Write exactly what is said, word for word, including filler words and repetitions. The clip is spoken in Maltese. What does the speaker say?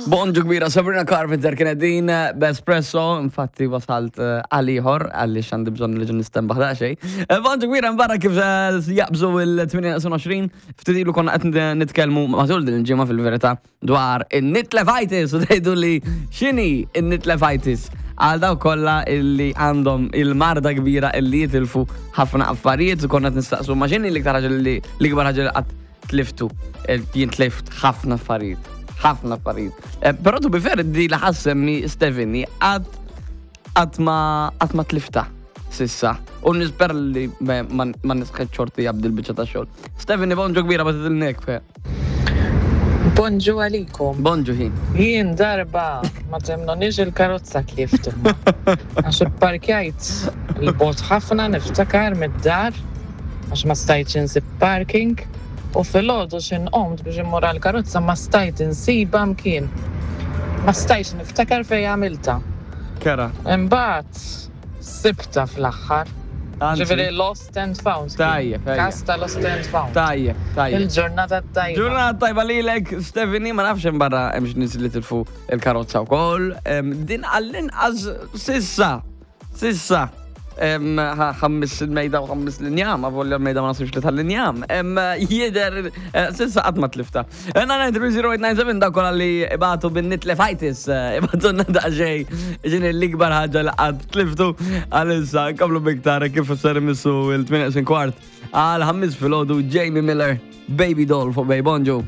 Bonġu kbira, Sabrina Carpenter kienet din eh, b'Espresso, infatti wasalt eh, għal ieħor għaliex għandi bżonn li ġun nistenbaħ daqsxejn. Eh, Bonġu kbira mbarra kif eh, jaqbżu il-tmienja neqsin għoxrin, ftit ilu konna qed nitkellmu matul din il-ġimgħa fil-verità dwar in-nitlefitis u tgħidu li x'inhi in-nitlefitis għal daw kollha illi għandhom il-marda kbira illi jitilfu ħafna affarijiet u konna qed nistaqsu ma x'inhi l-iktar ħaġa li l-ikbar ħaġa li qatt tliftu. Eh, Jien tlift ħafna affarijiet. Ħafna affarijiet. Eh, Però to be fair, di li ħa ssemmi Stephanie qatt qatt ma qatt ma tlifta s'issa. U nisper li ma ma nisħet xorti jabdi l-biċċa ta' xogħol. Stephanie, bonġu kbira, bat il-nek. Bonġu għalikom. Bonġu ħin. Jien darba ma temnonix il-karozza tlift imma. Għax parkjajt 'il bogħod ħafna, niftakar, mid-dar għax ma stajtx insib parking u filgħodu x'ħin qomt biex immur għal-karozza ma stajt insiba mkien. Ma stajtx niftakar fej għamilta. Kera. Imbagħad sibta fl-aħħar. Ġifieri lost and found. Tajjeb, tajjeb. Kas ta' lost and found. Tajjeb, tajjeb. Il-ġurnata tajba. Ġurnata tajba lilek, Stephanie, ma nafx hemm barra hemm nies li tilfu il-karozza wkoll. Em, Din għall-inqas s'issa. S'issa. Em, ħa- Ħammis il-mejda u ħammis l-injam, avolja l-mejda ma nasibx li tal-injam. Em, Jider, eh, s'issa qatt ma tlifta. nine nine three zero eight nine seven, dak kollha li ibatu bin-nitlefitis, eh, ibatu daqsxejn, x'inhi l-ikbar ħaġa li qatt tliftu għalissa, nkomplu biktar kif ser imissu il-tmienja kwart. Għal ħammis filgħodu, Jamie Miller, Baby Doll fuq Bay. Bonġu.